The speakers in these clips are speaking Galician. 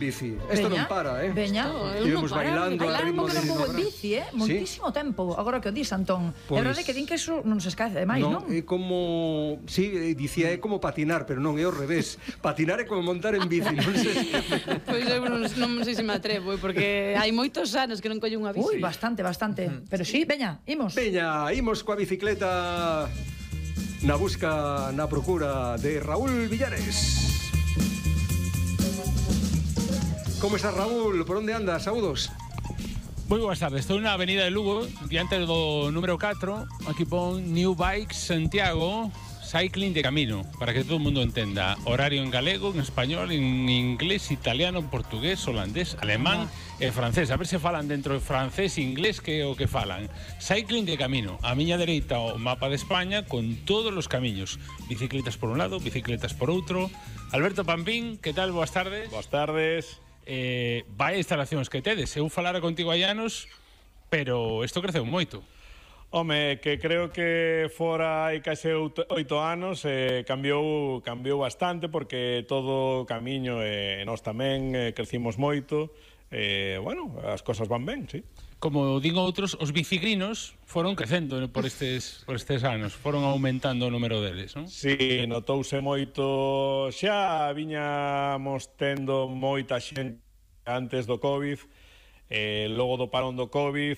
bici. Isto non para, Veña, Íbamos bailando a ritmo que de... non vou en bici, moitísimo tempo. Agora que o dis, Antón. É verdade que din que eso non se escaece demais, non? É como... Sí, dicía, é como patinar, pero non, é ao revés. Patinar é como montar en bici, non sei. Pois eu non sei se me atrevo, porque hai moitos anos que non collo unha bici. Ui, bastante. Pero sí, veña, imos. Veña, imos coa bicicleta na busca, na procura de Raúl Villares. Como estás, Raúl? Por onde andas? Saúdos. Moi boas tardes. Estou na avenida de Lugo, diante do número 4. Aquí pon New Bikes Santiago, cycling de camino, para que todo o mundo entenda. Horario en galego, en español, en inglés, italiano, portugués, holandés, alemán e francés. A ver se falan dentro de francés e inglés que é o que falan. Cycling de camino. A miña dereita o mapa de España con todos os camiños. Bicicletas por un lado, bicicletas por outro. Alberto Pampín, que tal? Boas tardes. Boas tardes. Vai instalacións que tedes. Eu falara contigo hai anos, pero isto creceu moito. Home, que creo que fora hai case 8 anos cambiou bastante, porque todo o camiño e nós tamén crecimos moito. Bueno, as cosas van ben, sí. Como digo outros, os bicigrinos foron crecendo por estes anos, foron aumentando o número deles, non? Sí, notouse moito. Xa viñamos tendo moita xente antes do Covid, logo do parón do Covid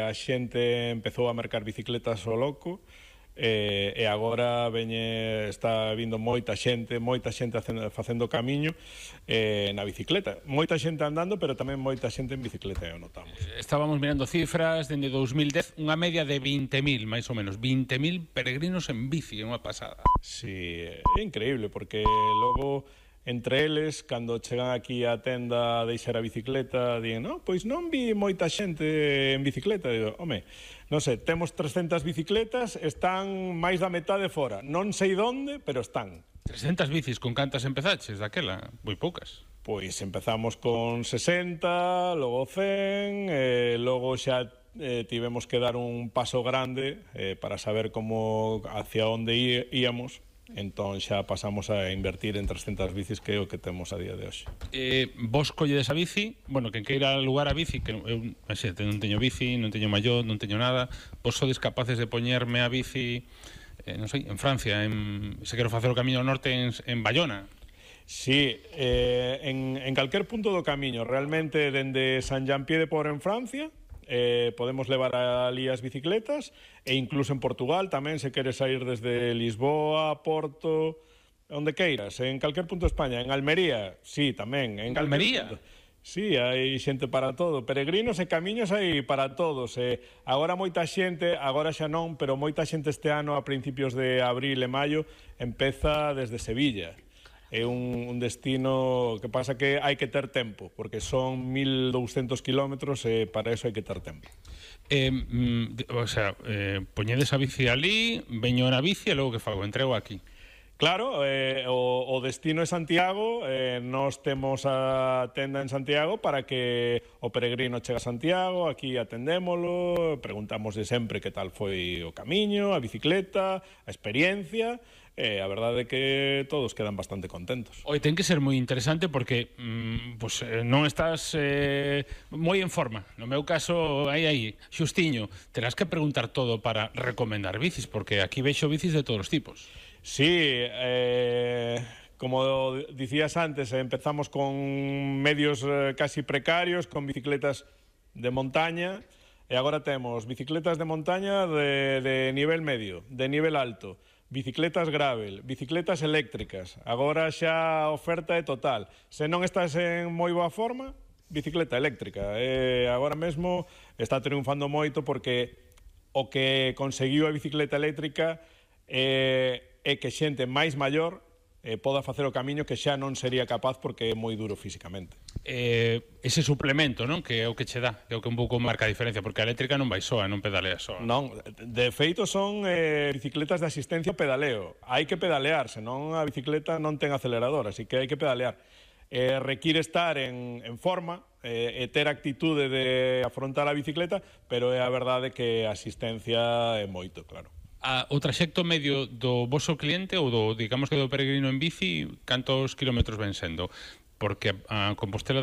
a xente empezou a mercar bicicletas ao loco, e agora está vindo moita xente facendo camiño na bicicleta, moita xente andando, pero tamén moita xente en bicicleta, o notamos. Estábamos mirando cifras dende 2010, unha media de 20.000, máis ou menos, 20.000 peregrinos en bici, é unha pasada. Sí, é increíble, porque logo entre eles, cando chegan aquí á tenda a deixar a bicicleta, din, no, pois non vi moita xente en bicicleta. Digo, home, non sei, temos 300 bicicletas, están máis da metade fora. Non sei onde, pero están. 300 bicis, con cantas empezaches daquela? Moi poucas. Pois empezamos con 60, logo 100, logo xa tivemos que dar un paso grande para saber como hacia onde íamos. Entón xa pasamos a invertir en 300 bicis, que é o que temos a día de hoxe. Vos colledes a bici, bueno, quen queira lugar a bici, que eu non teño bici, non teño mallot, non teño nada, vos sodes capaces de poñerme a bici, non sei, en Francia, se quero facer o camiño ao norte en Bayona. Sí, en calquer punto do camiño, realmente dende Sant Jean-Pied-de-Port en Francia, podemos levar ali as bicicletas, e incluso en Portugal tamén, se queres sair desde Lisboa, Porto, onde queiras, en calquer punto de España. En Almería, sí, tamén. En Almería? Sí, hai xente para todo. Peregrinos e camiños hai para todos. Agora moita xente, agora xa non, pero moita xente este ano, a principios de abril e maio, empeza desde Sevilla. É un destino que pasa que hai que ter tempo, porque son 1.200 kilómetros e para eso hai que ter tempo. O sea, poñedes a bici ali, veño na bici e logo que fago? Entrego aquí. Claro, o destino é Santiago, nós temos a tenda en Santiago para que o peregrino chegue a Santiago, aquí atendémolo, preguntamos de sempre que tal foi o camiño, a bicicleta, a experiencia. A verdade é que todos quedan bastante contentos. Oi, ten que ser moi interesante porque non estás moi en forma. No meu caso, aí, xustiño, terás que preguntar todo para recomendar bicis, porque aquí vexo bicis de todos os tipos. Sí, como dicías antes, empezamos con medios casi precarios, con bicicletas de montaña, e agora temos bicicletas de montaña de nivel medio, de nivel alto, bicicletas gravel, bicicletas eléctricas. Agora xa a oferta é total. Se non estás en moi boa forma, bicicleta eléctrica. Agora mesmo está triunfando moito, porque o que conseguiu a bicicleta eléctrica é que xente máis maior poda facer o camiño que xa non sería capaz, porque é moi duro físicamente. Ese suplemento, non? Que é o que che dá, que é o que un pouco marca a diferencia, porque a eléctrica non vai soa, non pedalea soa. Non, de feito son bicicletas de asistencia ao pedaleo. Hai que pedalear, senón a bicicleta non ten acelerador, así que hai que pedalear. Require estar en forma e ter actitude de afrontar a bicicleta, pero é a verdade que a asistencia é moito, claro. O traxecto medio do voso cliente ou do, digamos que do peregrino en bici, cantos kilómetros ven sendo? Porque a Compostela